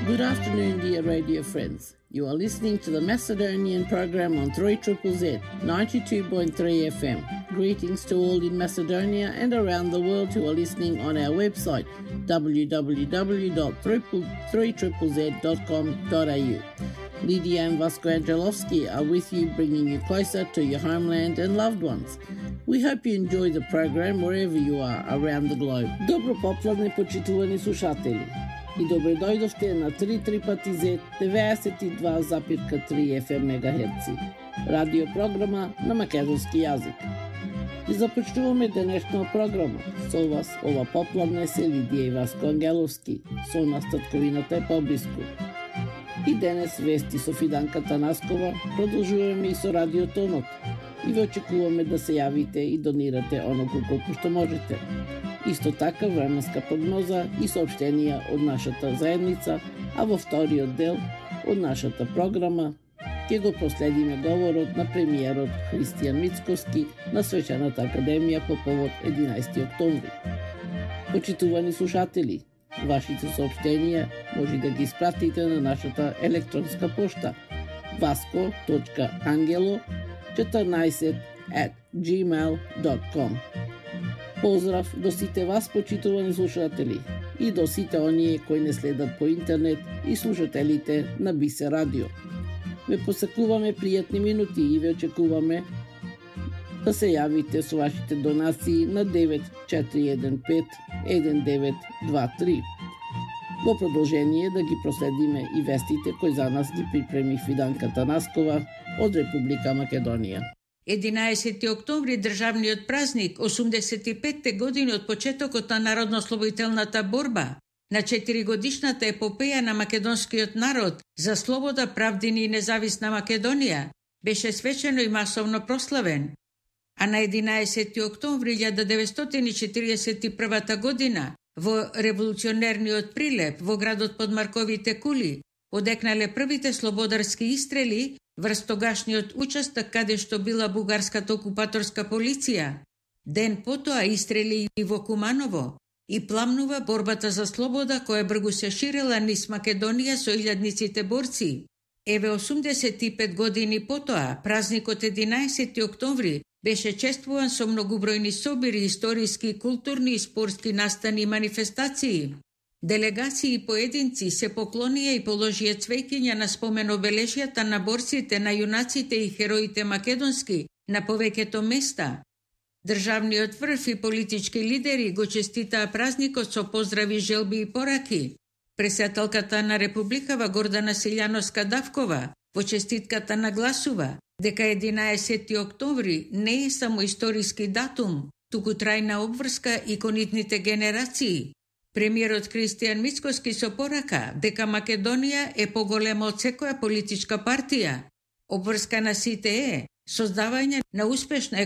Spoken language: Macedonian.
Good afternoon, dear radio friends. You are listening to the Macedonian program on 3ZZZ 92.3 FM. Greetings to all in Macedonia and around the world who are listening on our website www.3ZZZ.com.au. Lydia and Vasco Angelovski are with you, bringing you closer to your homeland and loved ones. We hope you enjoy the program wherever you are around the globe. Добро попладне, почитувани слушатели. И добре дојдовте на 3ZZZ 92,3 FM мегахерци, радио програма на македонски јазик. И започнуваме денешна програма. Со вас ова попладне се Лидија и Васко Ангеловски, со нас татковината е поблиску. И денес вести со Фиданка Танаскова, продолжуваме и со Радио Тонот. И ве очекуваме да се јавите и донирате оноку колку што можете. Исто така временска прогноза и сообщенија од нашата заедница, а во вториот дел од нашата програма ќе го проследиме говорот на премиерот Христијан Мицкоски на Свечената академија по повод 11 октомври. Почитувани слушатели, вашите сообщенија може да ги испратите на нашата електронска пошта vasco.angelo14@gmail.com. Поздрав до сите вас, почитувани слушатели, и до сите оние кои не следат по интернет и слушателите на Бисе Радио. Ве посакуваме пријатни минути и ве очекуваме да се јавите со вашите донации на 9415-1923. Во продолжение да ги проследиме и вестите кои за нас ги припреми Фиданка Танаскова од Република Македонија. 11 октомври, државниот празник, 85 години од почетокот на народно-ослободителната борба, на 4-годишната епопеја на македонскиот народ за слобода, правдини и независна Македонија, беше свечено и масовно прославен. А на 11 октомври 1941 година, во револуционерниот прилеп во градот под Марковите кули, одекнале првите слободарски истрели врз тогашниот учесток каде што била бугарската окупаторска полиција. Ден потоа истрели и во Куманово и пламнува борбата за слобода која бргу се ширела низ Македонија со илјадниците борци. Еве 85 години потоа, празникот 11 октомври беше чествуван со многобројни собири, историски, културни и спортски настани и манифестации. Делегации и поединци се поклонија и положија цвеќиња на спомен обележјата на борците, на јунаците и хероите македонски на повеќето места. Државниот врв и политички лидери го честитаа празникот со поздрави, желби и пораки. Председателката на Републикава Гордана Силјановска-Давкова во честитката нагласува дека 11 октомври не е само историски датум, туку трајна обврска и кон идните генерации. Премиерот Христијан Мицкоски со порака дека Македонија е поголема од секоја политичка партија. Обврска на сите е создавање на успешна